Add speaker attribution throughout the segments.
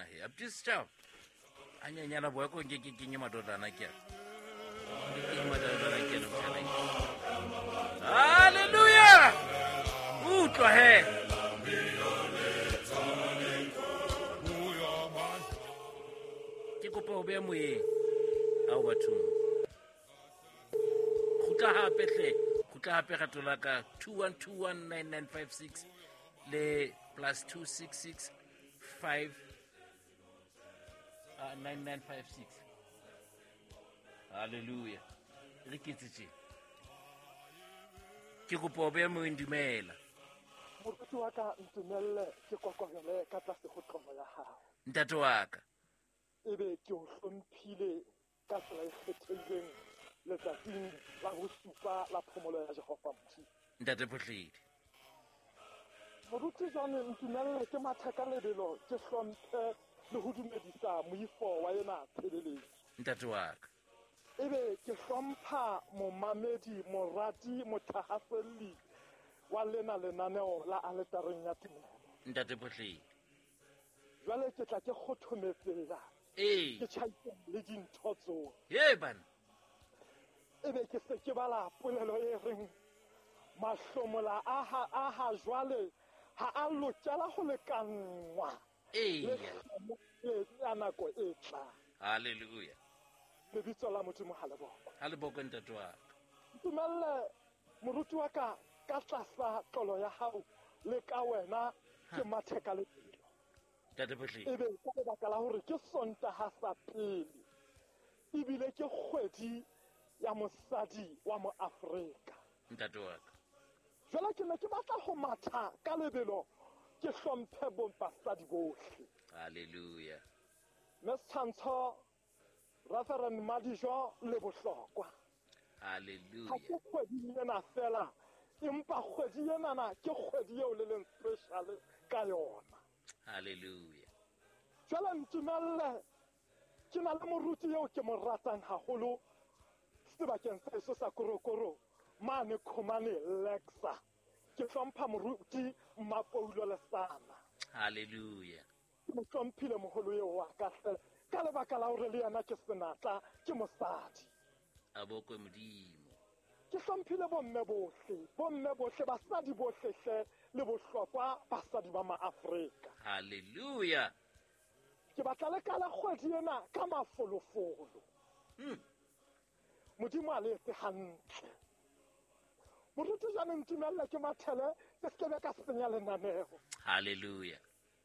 Speaker 1: nna he. Abuti Setšhaba. A nyenyana boya ko nke ke kenye madodana ke a. Ke kenye madodana ke ena motjhana. Hallelujah! Utlwa he. Ke kopa ho beha moyeng. Ao bathong. Kgutla hape hle. Kgutla hape rato la ka 21219956 le plus 266 5 9956. Hallelujah. Re ke tse. Ke kopa ho beha moyeng, dumela.
Speaker 2: Moruti wa ka, ntumelle ke kokobele ka tlase ho tlomo ya hao.
Speaker 1: Ntate wa ka.
Speaker 2: Ebe ke o hlomphile ka tsela e kgethehileng letsatsing la bosupa la phomolo ya Jehova Modimo.
Speaker 1: Ntate Phohledi.
Speaker 2: Moruti jwale ntumelle ke mathe ka lebelo ke hlomphe le ho dumedisa moifo wa ena tshebeletso.
Speaker 1: Ntate wa ka.
Speaker 2: Ebe ke hlompha momamedi, morati, mothahaselli wa lena lenaneo la aletareng ya tumelo.
Speaker 1: Ntate Phohledi.
Speaker 2: Jwale ke tla ke kgothometsela.
Speaker 1: Ee.
Speaker 2: Ke tjhaiseng le dintho tsohle.
Speaker 1: Ye bana.
Speaker 2: Ebe ke se ke bala polelo e reng mahlomola a ha jwale ha a lokela ho lekanngwa.
Speaker 1: Ee.
Speaker 2: Le ya nako e tlang.
Speaker 1: Hallelujah.
Speaker 2: Lebitso la Modimo ha le bokwe.
Speaker 1: Ha le bokwe ntate wa ka.
Speaker 2: Ntumelle moruti wa ka ka tlasa tlolo ya hao le ka wena ke mathe ka lebelo.
Speaker 1: Ntate Phohledi.
Speaker 2: Ebe ka lebaka la hore ke Sontaha sa pele ebile ke kgwedi ya mosadi wa moAfrika.
Speaker 1: Ntate wa ka.
Speaker 2: Jwale ke ne ke batla ho matha ka lebelo ke hlomphe bo basadi bohle.
Speaker 1: Hallelujah.
Speaker 2: Mme setshwantsho Reverend Madijo le bohlokwa.
Speaker 1: Hallelujah.
Speaker 2: Ha ke kgwedi ena fela, empa kgwedi enana ke kgwedi eo le leng special ka yona.
Speaker 1: Hallelujah.
Speaker 2: Jwale ntumelle ke na le moruti eo ke mo ratang haholo sebakeng sa heso sa Korokoro mane Khomane Lexa. Ke hlompha moruti Mmapoulo Lesana.
Speaker 1: Hallelujah.
Speaker 2: Ke mo hlomphile moholo eo wa ka hle ka lebaka la hore le yena ke senatla, ke mosadi.
Speaker 1: A bokwe Modimo.
Speaker 2: Ke hlomphile bomme bohle, bomme bohle, basadi bohle hle le bohlokwa basadi ba maAfrika.
Speaker 1: Hallelujah.
Speaker 2: Ke batla le kala kgwedi ena ka mafolofolo. Modimo a le etse hantle. Moruti jwale ntumelle ke mathele ke se ke ka senya lenaneo.
Speaker 1: Hallelujah.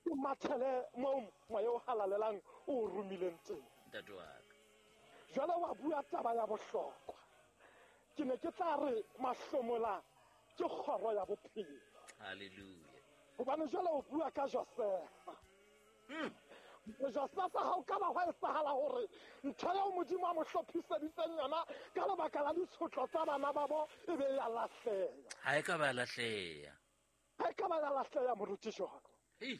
Speaker 2: Ke mathele moo moya o halalelang o romileng teng.
Speaker 1: Ntate wa ka.
Speaker 2: Jwale wa bua taba ya bohlokwa. Ke ne ke tla re mahlomola ke kgoro ya bophelo.
Speaker 1: Hallelujah.
Speaker 2: Hobane jwale o bua ka Josefa. Josefa ha o ka ba hwa etsahala hore ntho eo Modimo a mo hlophiseditseng yona ka lebaka la ditshotlo tsa bana ba bo e be ya lahleha.
Speaker 1: Ha e ka ba lahleha.
Speaker 2: Ha e ka ba ya lahleha moruti jwalo.
Speaker 1: Ei.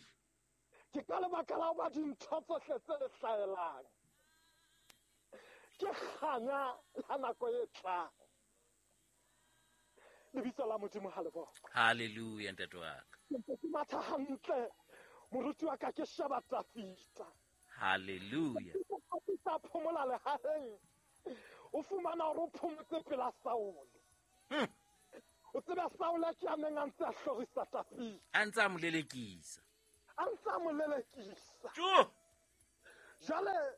Speaker 2: Ke ka lebaka la hoba dintho tsohle tse le hlahelang ke kganya ya nako e tlang. Lebitso la Modimo ha le bokwe.
Speaker 1: Hallelujah ntate wa ka.
Speaker 2: Ke matha hantle moruti wa ka ke sheba Tafita.
Speaker 1: Hallelujah.
Speaker 2: Tafita phomola lehaheng. O fumana hore o phomotse pela Saule. O tseba Saule ke a neng a ntse a hlorisa Tafita.
Speaker 1: A ntse a mo lelekisa.
Speaker 2: A ntse a mo lelekisa.
Speaker 1: Tjo!
Speaker 2: Jwale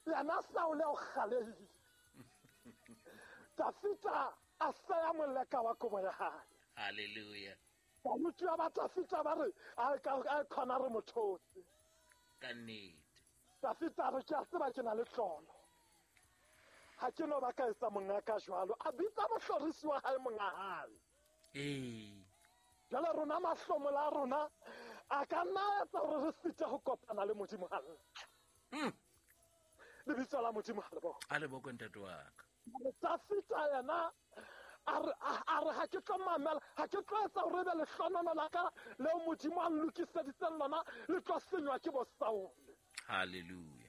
Speaker 2: yena Saule o kgalehile. Tafita a seya moleka wa kobo ya hae.
Speaker 1: Hallelujah.
Speaker 2: Baruti ba Tafita ba re a khona re mothotse.
Speaker 1: Ka nnete.
Speaker 2: Tafita re ke a tseba ke na le tlolo. Ha ke no ba ka etsa monga ka jwalo. A bitsa mohlorisi wa hae monga hae.
Speaker 1: Ee.
Speaker 2: Jwale rona mahlomola a rona a ka nna etsa hore re site ho kopana le Modimo hantle. Lebitso la Modimo ha le bokwe.
Speaker 1: Ha le bokwe ntate wa ka.
Speaker 2: Tafita yena a re ha ke tlo mamela, ha ke tlo etsa hore ebe lehlonono la ka leo Modimo a nlokiseditseng lona le tlo senywa ke bo Saule.
Speaker 1: Hallelujah.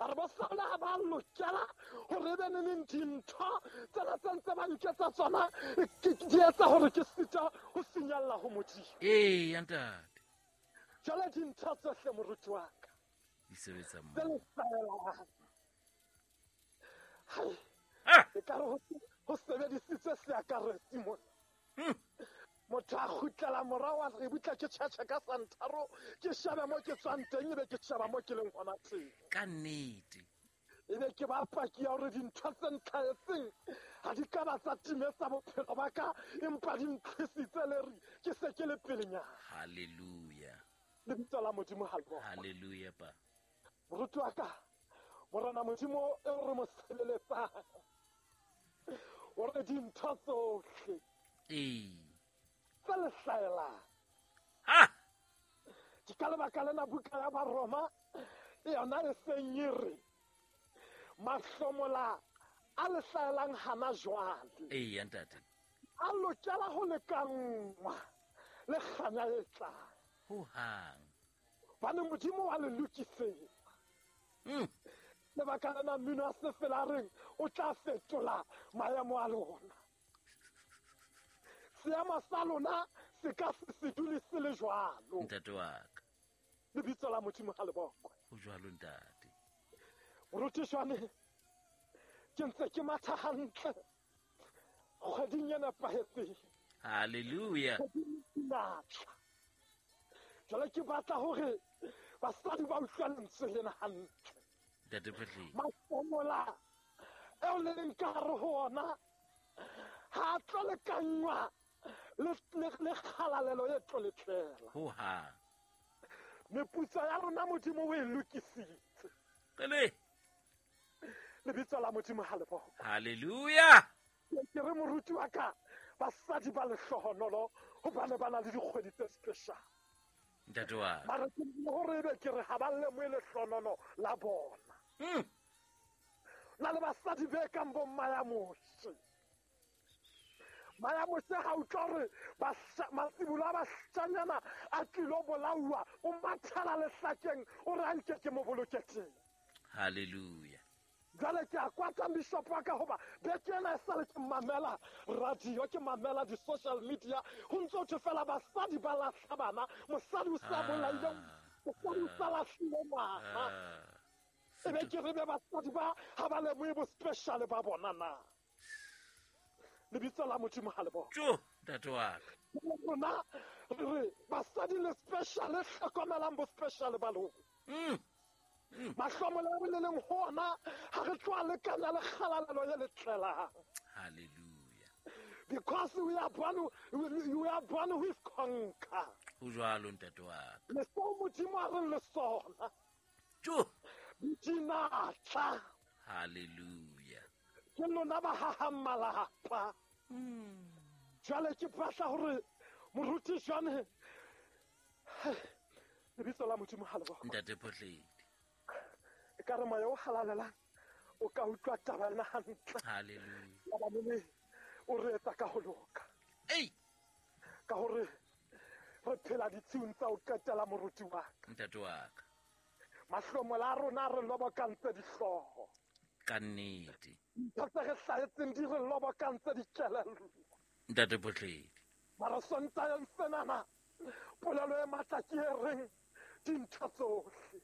Speaker 2: A re bo Saule ha ba lokela hore ebe neneng dintho tsena tse ntse ba nketsa tsona di etsa hore ke sita ho finyella ho Modimo.
Speaker 1: Ee, ntate.
Speaker 2: Jwale dintho tsohle moruti wa ka.
Speaker 1: Di sebetsa
Speaker 2: tse
Speaker 1: mmoho.
Speaker 2: le hlahelang. Hai,
Speaker 1: Ah!
Speaker 2: ekare ho sebedisitswe seakaretsi mona. Motho a kgutlela morao a re butla ke tjhetjhe ka santharo, ke shebe mo ke tswang teng, ebe ke sheba mo ke leng hona teng.
Speaker 1: Ka nnete.
Speaker 2: Ebe ke ba paki ya hore dintho tse ntlhahetseng ha di ka ba tsa timetsa bophelo ba ka, empa di ntlhisitse leri ke se ke le pelenyana.
Speaker 1: Hallelujah.
Speaker 2: Lebitso la Modimo ha le bokwe.
Speaker 1: Hallelujah pa.
Speaker 2: Moruti wa ka, Morena Modimo eo re mo sebeletsang, o re dintho tsohle
Speaker 1: Ee.
Speaker 2: tse le hlahelang.
Speaker 1: Ha!
Speaker 2: Ke ka lebaka lena buka ya Baroma yona e seng e re mahlomola a le hlahelang hana jwale
Speaker 1: Ee, ntate.
Speaker 2: a lokela ho lekanngwa le kganya e tlang.
Speaker 1: Ho hang.
Speaker 2: Hobane Modimo wa le lokisetsa. Lebaka lena mmino wa sefela a reng o tla fetola maemo a lona. Seemo sa lona se ka se se dule se le jwalo.
Speaker 1: Ntate wa ka.
Speaker 2: Lebitso la Modimo ha le bokwe.
Speaker 1: Ho jwalo ntate.
Speaker 2: Moruti Shwane, ke ntse ke matha hantle kgweding e nepahetseng.
Speaker 1: Hallelujah.
Speaker 2: Kgweding e matla. Jwale ke batla hore basadi ba utlwe lentswe lena hantle.
Speaker 1: Ntate Phehleng.
Speaker 2: Mahlomola eo le leng ka hare ho ona ha a tlo lekanngwa le kgalalelo e tlo le tlela.
Speaker 1: Ho hang.
Speaker 2: Meputso ya rona Modimo o e lokisitse.
Speaker 1: Qele.
Speaker 2: Lebitso la Modimo ha le bokwe.
Speaker 1: Hallelujah.
Speaker 2: Ke re moruti wa ka, basadi ba lehlohonolo hobane ba na le dikgwedi tse special.
Speaker 1: Ntate wa ka.
Speaker 2: Mara ke hore ebe ke re ha ba lemohe lehlohonono la bona. Na le basadi be kang bo Maya Moshe. Maya Moshe ha utlwa hore matsibolo a bashanyana a tlilo bolauwa, o mathela lehlakeng, o re a nke ke mo boloke teng.
Speaker 1: Hallelujah.
Speaker 2: Jwale ke a kwata bishop wa ka hoba beke ena e sale ke mamela radio, ke mamela di-social media, ho ntso thwe fela basadi ba lahla bana, mosadi o sa bolaile, mosadi o sa lahlile ngwana. Ebe ke re be basadi ba ha ba lemohe bo special ba bona na. Lebitso la Modimo ha le bokwe.
Speaker 1: Tjo, ntate wa ka.
Speaker 2: Rona re re basadi le special, le hlokomelang bo special ba lona. Mahlomola a re le leng ho ona ha re tloha lekana le kgalalelo e le tlelang.
Speaker 1: Hallelujah.
Speaker 2: Because we are born with conquer.
Speaker 1: Ho jwalo ntate wa ka.
Speaker 2: Le seo Modimo a reng le sona.
Speaker 1: Tjo.
Speaker 2: Dinatla.
Speaker 1: Hallelujah.
Speaker 2: Ke lona ba hahang malapa. Jwale ke batla hore moruti Jwane, lebitso la Modimo ha le bokwe.
Speaker 1: Ntate Phohledi.
Speaker 2: Ekare moya o halalelang o ka utlwa taba ena hantle.
Speaker 1: Hallelujah.
Speaker 2: Hobane o re etsa ka ho loka.
Speaker 1: Ei.
Speaker 2: Ka hore re phela ditshiung tsa ho qetela moruti wa ka.
Speaker 1: Ntate wa ka.
Speaker 2: Mahlomola a rona re lobokantse dihlooho.
Speaker 1: Ka nnete.
Speaker 2: Ntho tse re hlahetseng di re lobokantse dikelello.
Speaker 1: Ntate Phohledi.
Speaker 2: Mara Sontaheng senana, polelo e matla ke e reng dintho tsohle.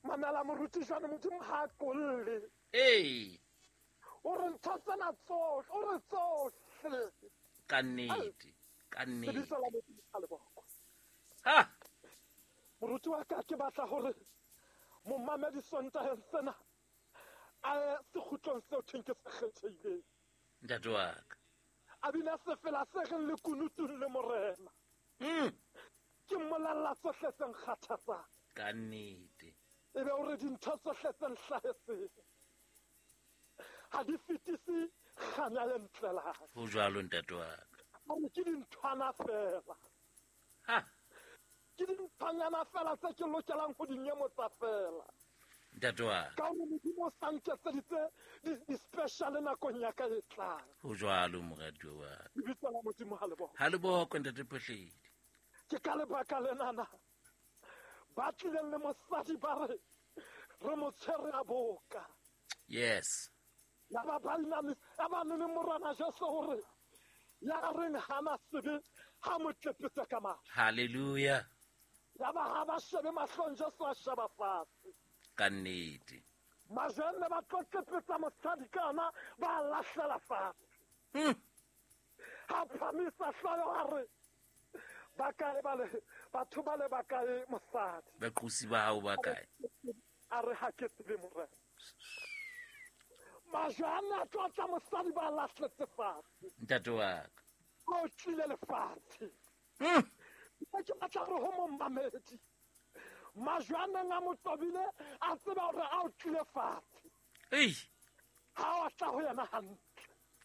Speaker 2: Mamela moruti Jwane, Modimo ha a qolle.
Speaker 1: Ee.
Speaker 2: O re ntho tsena tsohle, o re tsohle.
Speaker 1: Ka nnete, ka nnete.
Speaker 2: Lebitso la Modimo ha le bokwe.
Speaker 1: Ha!
Speaker 2: Moruti wa ka, ke batla hore momamedi Sontaheng sena a ye sekgutlong seo thweng ke se kgethehileng.
Speaker 1: Ntate wa ka.
Speaker 2: A bina sefela se reng le kunutung le Morena. Ke mmolella tsohle tse nkgathatsang.
Speaker 1: Ka nnete.
Speaker 2: Ebe o re dintho tsohle tse nhlahetseng ha di fetise kganya e ntlelang.
Speaker 1: Ho jwalo ntate wa ka.
Speaker 2: A re ke dinthwana fela.
Speaker 1: Ha!
Speaker 2: Ke dinthwanyana fela tse ke lokelang ho di nyemotsa fela.
Speaker 1: Ntate wa ka.
Speaker 2: Ka hore Modimo o sa nketseditse di-special nakong ya ka e tlang.
Speaker 1: Ho jwalo moratuwa wa ka.
Speaker 2: Lebitso la Modimo ha le bokwe.
Speaker 1: Ha le bokwe ntate Phohledi.
Speaker 2: Ke ka lebaka lenana ba tlileng le mosadi ba re re mo tshwere a boka.
Speaker 1: Yes.
Speaker 2: Ya ba ba inamisa, ya ba le Morena Jesu hore ya reng hana sebe ha mo tlepetse ka matla.
Speaker 1: Hallelujah.
Speaker 2: Ya ba ha ba shebe mahlong Jesu a sheba fatshe.
Speaker 1: Ka nnete.
Speaker 2: Majwe a ne ba tlo tlepetsa mosadi ka ona ba a lahlela fatshe. Ha phamisa hlooho a re, ba kae ba le, batho ba le ba kae mosadi?
Speaker 1: Baqosi ba hao ba kae?
Speaker 2: A re ha ke tsebe morena. Majwe a ne a tlo tla mosadi ba lahletse fatshe.
Speaker 1: Ntate wa ka.
Speaker 2: O tlile lefatshe. Ke batla hore ho momamedi. Majwe a neng a mo tobile a tseba hore a o tlile fatshe.
Speaker 1: Ei.
Speaker 2: Ha o tla ho yena hantle.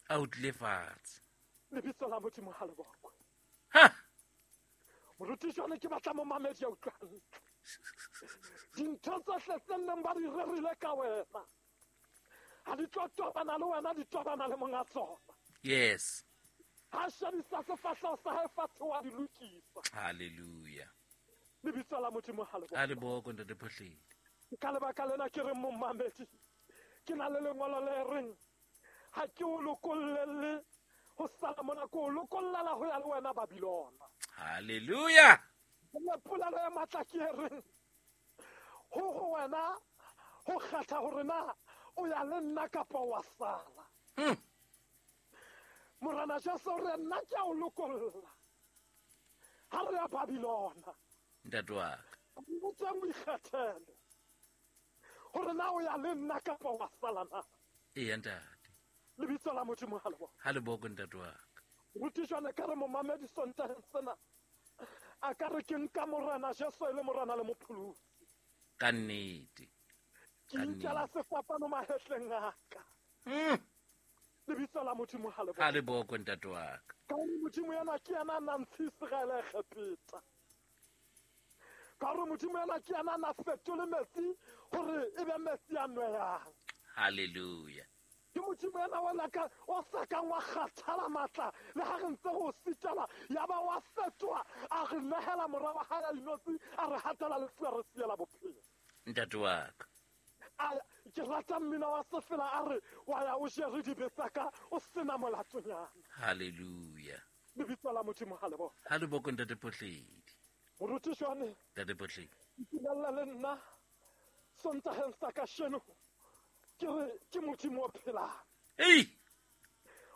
Speaker 1: A o tlile fatshe.
Speaker 2: Lebitso la Modimo ha le bokwe.
Speaker 1: Ha.
Speaker 2: Moruti jwale ke batla momamedi ya utlwa hantle. Dintho tsohle tse neng ba di rerile ka wena ha di tlo tobana le wena, di tobana le monga tsona.
Speaker 1: Yes.
Speaker 2: Ha shebisa sefahleho sa hae fatshe wa di lokisa.
Speaker 1: Hallelujah.
Speaker 2: Lebitso la Modimo ha le bokwe.
Speaker 1: Ha le bokwe, Ntate Phohledi.
Speaker 2: Ka lebaka lena ke reng momamedi, ke na le lengolo le reng ha ke o lokollele ho sala mona, ke o lokollela ho ya le wena Babilona.
Speaker 1: Hallelujah.
Speaker 2: Le polelo ya matla ke e reng ho ho wena ho kgetha hore na o ya le nna kapa wa sala. Morena Jesu o re nna ke a o lokolla ha re ya Babilona.
Speaker 1: Ntate wa ka.
Speaker 2: O tswang o ikgethele hore na o ya le nna kapa wa sala na.
Speaker 1: Eya ntate.
Speaker 2: Lebitso la Modimo ha le bokwe.
Speaker 1: Ha le bokwe ntate wa ka.
Speaker 2: Moruti jwale ka re momamedi Sontaheng sena a ka re ke nka Morena Jesu e le Morena le Mopholosi.
Speaker 1: Ka nnete.
Speaker 2: Ke nkela sefapano mahetleng a ka. Lebitso la Modimo ha le bokwe.
Speaker 1: Ha le bokwe ntate wa ka.
Speaker 2: Ka hore Modimo yena ke yena a nang ntshe Iseraele Egepeta. Ka hore Modimo yena ke yena a na fetole metsi hore e be metsi a nwehang.
Speaker 1: Hallelujah.
Speaker 2: Ke Modimo yena wa laka o sa kang wa kgathala matla le ha re ntse re o sitela, ya ba wa fetoha a re nehela mora wa hae a inotsi, a re hatela lefu, a re siela bophelo.
Speaker 1: Ntate wa ka.
Speaker 2: A ke rata mmino wa sefela a re wa ya o jere dibe tsa ka o sena molatonyana.
Speaker 1: Hallelujah.
Speaker 2: Lebitso la Modimo ha le bokwe.
Speaker 1: Ha le bokwe Ntate Phohledi.
Speaker 2: Moruti jwane.
Speaker 1: Ntate Phohledi.
Speaker 2: Ntumella le nna Sontaheng sa kasheno ke re ke Modimo o phelang.
Speaker 1: Ei!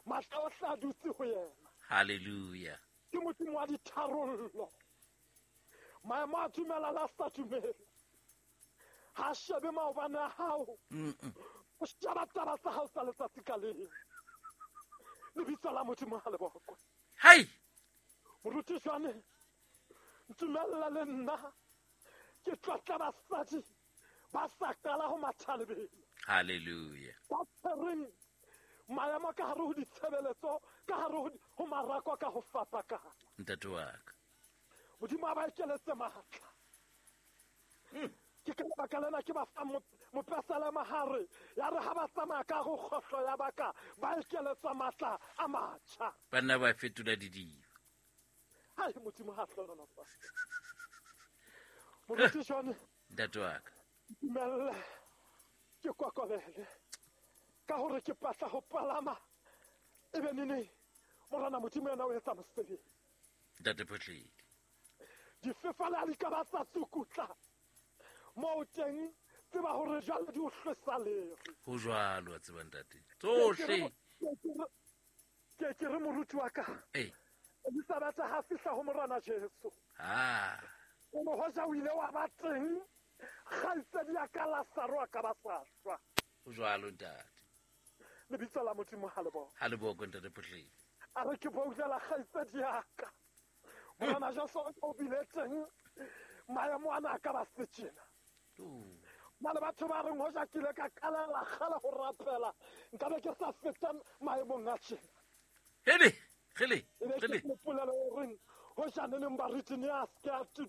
Speaker 2: Matla ohle a dutse ho yena.
Speaker 1: Hallelujah.
Speaker 2: Ke Modimo wa ditharollo. Maemo a dumela le a sa dumele. Ha shebe maobane a hao. O sheba taba tsa hao tsa letsatsi ka leng. Lebitso la Modimo ha le bokwe.
Speaker 1: Hai!
Speaker 2: Moruti jwane, ntumella le nna ke tlotla basadi ba sa qala ho matha lebelo.
Speaker 1: Hallelujah.
Speaker 2: Ba tshwereng maemo ka hare ho ditshebeletso, ka hare ho marako ka ho fapakana.
Speaker 1: Ntate wa ka.
Speaker 2: Modimo a ba ekeletse matla. Ke ka lebaka lena ke ba fa mopesalema hare ya re ha ba tsamaya ka ho kgohlo ya baka ba ekeletswa matla a matjha.
Speaker 1: Banna ba fetola didiba.
Speaker 2: Hai Modimo ha hlohonolofatse. Moruti jwane.
Speaker 1: Ntate wa ka.
Speaker 2: Ntumelle ke kokobele ka hore ke patla ho palama e be nene Morena Modimo yena o etsa mosebetsi.
Speaker 1: Ntate Phohledi.
Speaker 2: Difefala di ka ba tsa tsukutla moo teng tseba hore jwale di o hlwesa lere.
Speaker 1: Ho jwalo wa tseba ntate. Tsohle.
Speaker 2: Ke re moruti wa ka.
Speaker 1: Ee.
Speaker 2: Elizabeth ha fihla ho Morena Jesu.
Speaker 1: Ah.
Speaker 2: O mo hoja o ile wa ba teng kgaitsedi ya ka Lazaro a ka ba sa shwa.
Speaker 1: Ho jwalo ntate.
Speaker 2: Lebitso la Modimo ha le bokwe.
Speaker 1: Ha le bokwe Ntate Phohledi.
Speaker 2: A re ke boutlela kgaitsedi ya ka. Morena Jesu o bile teng maemo ana a ka ba se tjena. Na le batho ba reng hoja ke ile ka qalela kgale ho rapela nka be ke sa feta maemong a tjena.
Speaker 1: Hele, hele,
Speaker 2: Ebe ke
Speaker 1: hele.
Speaker 2: polelo e reng hoja ne neng baruti ne a se ke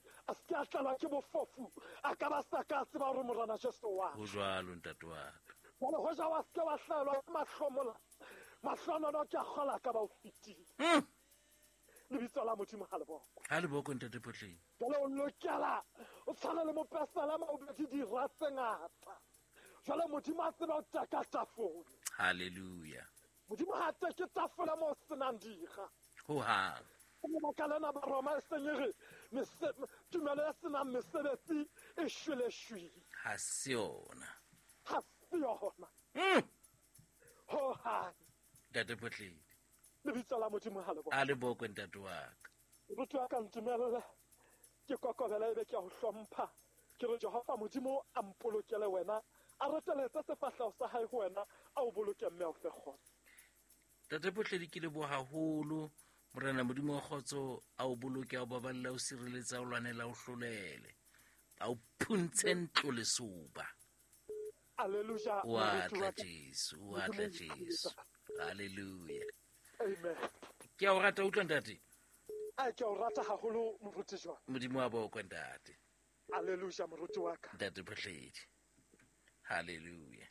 Speaker 2: a tlelwa ke bofofu a ka ba sa ka tseba hore Morena Jesu wa.
Speaker 1: Ho jwalo ntate wa ka.
Speaker 2: Jwale hoja wa se ke wa hlaelwa ke mahlomola, mahlonono ke a kgola ka ba o fetile. Lebitso la Modimo ha le bokwe.
Speaker 1: Ha le bokwe Ntate Phohledi.
Speaker 2: Jwale o lokela o tshwane le mopesalema o betse dira tse ngata. Jwale Modimo a tseba ho teka tafole.
Speaker 1: Hallelujah.
Speaker 2: Modimo ha teke tafole moo o senang dira.
Speaker 1: Ho hang.
Speaker 2: Lebaka lena Baroma e seng e re tumelo e senang mesebetsi e shwele shwele.
Speaker 1: Ha se yona.
Speaker 2: Ha se yona. Ho hang.
Speaker 1: Ntate Photledi.
Speaker 2: Lebitso la Modimo ha le
Speaker 1: bokwe. A le bokwe ntate wa ka.
Speaker 2: Moruti wa ka ntumelle ke kokobela ebe ke a ho hlompha. Ke re Jehova Modimo a mpolokele wena, a reteletse sefahleho sa hae ho wena, a o boloke mme a o fe kgotso.
Speaker 1: Ntate Photledi ke leboha haholo. Morena Modimo wa kgotso a o boloke, a o baballe, a o sireletse, a o lwanele, a o hlolele, a o phuntshe ntlo lesoba.
Speaker 2: Alleluia.
Speaker 1: O a tla Jesu, o a tla Jesu. Halleluja.
Speaker 2: Amen.
Speaker 1: Ke a o rata utlwa ntate.
Speaker 2: A ke a o rata haholo moruti jwa.
Speaker 1: Modimo wa bokwe ntate.
Speaker 2: Alleluia moruti wa ka.
Speaker 1: Ntate Photledi. Halleluja.